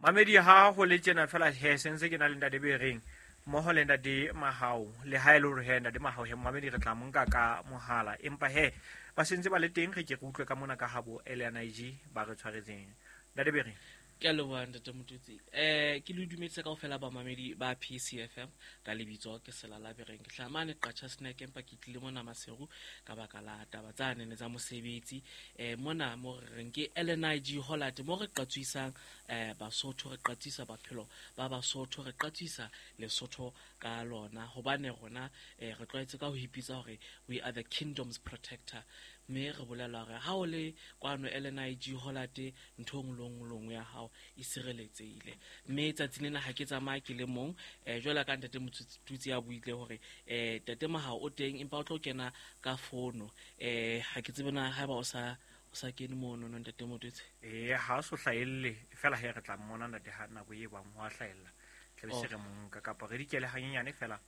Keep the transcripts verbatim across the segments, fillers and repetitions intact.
Mamedi ha ho le tjena fela he sentse ke na le ntate Bereng mmoho le ntate Mahao le ha e le hore he ntate Mahao he mamedi re tla mo nka ka mohala empa he ba sentse ba le teng re ke re utlwe ka mona ka habo L N I G ba re tshwaretseng ntate Bereng. Ke a leboha, ntate Motutsi. um ke le dumedisa kaofela bamamedi ba P C F M. Ka lebitso ke Selala Bereng, ke hlaha mane Qacha Snack, empa ke tlile mona Maseru ka baka la taba tsanene tsa mosebetsi. um mona mo re reng ke L N I G Hollard, mo re qatswisang um Basotho, re qatswisa bophelo ba Basotho, re qatswisa Lesotho ka lona, hobane rona um re tlwaetse ka ho ipitsa hore we are the kingdom's protector, mme re bolela hore ha o le kwano L N I G Hollard, ntho e nngwe le nngwe le nngwe ya hao e sireletsehile. Mme tsatsi lena ha ke tsamaye ke le mong, um jwalo ka ntate Motutsi a buile hore um tate Mahao o teng, empa o tlo kena ka fono. um ha ke tsebe na haeba o sa o sa kene mono no, ntate Motutsi. Ee, ha o so hlahelle fela he re tla mmona ntate ha nako e bang ho a hlahella tlabe se Oh. re monka kapa re dikele hanyenyane fela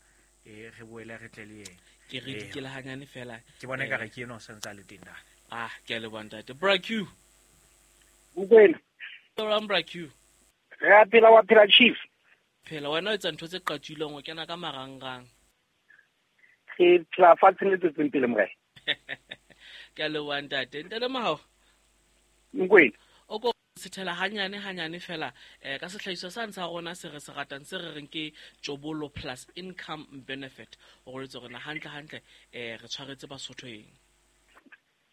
e re boele re tle le yena. Ke re Ee. dikele hanyane fela. Ke bona Eh. ekare ke ena o santse a le teng ntate. Ah, ke a leboha, ntate Bra Q. Mokwena. Jwang, Bra Q? Re a phela, wa phela, chief? Phela wena, o etsa ntho tse qatswileng, o kena ka marangrang. Re phela fatsheng le tswetseng pele, morena. Ke a leboha, ntate ntate Mahao. Mokwena. O ko sethela hanyane hanyane fela um ka sehlahiswa sane sa rona se re se ratang, se re reng ke Tjobolo Plus Income Benefit, o letse rona hantle hantle um re tshwaretse Basotho eng?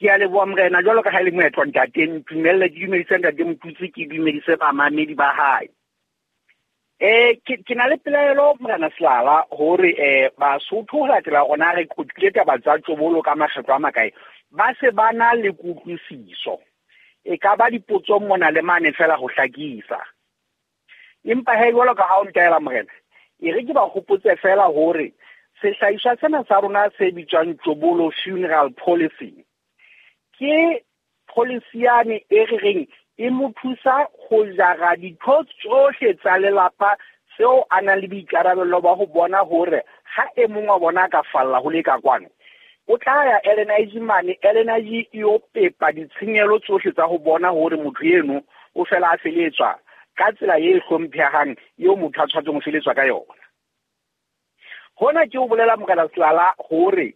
Ke a leboha, morena. Jwalo ka ha e le moetlo, ntate, ntumelle ke dumedise ntate Motutsi, ke dumedise bamamedi ba hae. Eh ke ke na le pelaelo, morena Selala, hore eh Basotho ho latela rona re qoqile taba tsa tjobolo ka makgetlo a makae, ba se ba na le kutlwisiso. E ka ba dipotsong mona le mane fela ho hlakisa, empa he jwalo ka ha o ntaela, morena, e re ke ba hopotse fela hore sehlahiswa sena sa rona se bitswang Tjobolo Funeral Policy ke policy yane e re reng e mo thusa ho jara ditho tsohle tsa lelapa seo a nang le boikarabello ba ho bona hore ha e mong wa bona a ka falla ho le ka kwano, o tla ya L N I G mane, L N I G e yo pepa ditshenyehelo tsohle tsa ho bona hore motho eno o fela a feletswa ka tsela e hlomphehang eo motho a tshwanetseng ho feletswa ka yona. Hona ke o bolela, morena Selala, hore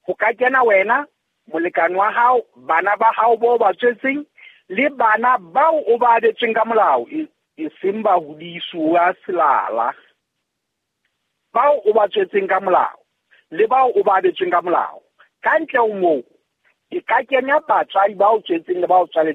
ho ka kena wena, molekane wa hao, bana ba hao bo ba tswetseng le bana bao o ba abetsweng ka molao, e e seng ba hodisuwa, Selala, bao o ba tswetseng ka molao le bao o ba abetsweng ka molao. Ka ntle ho moo e ka kenya batswadi ba o tswetseng le ba o tswaletseng.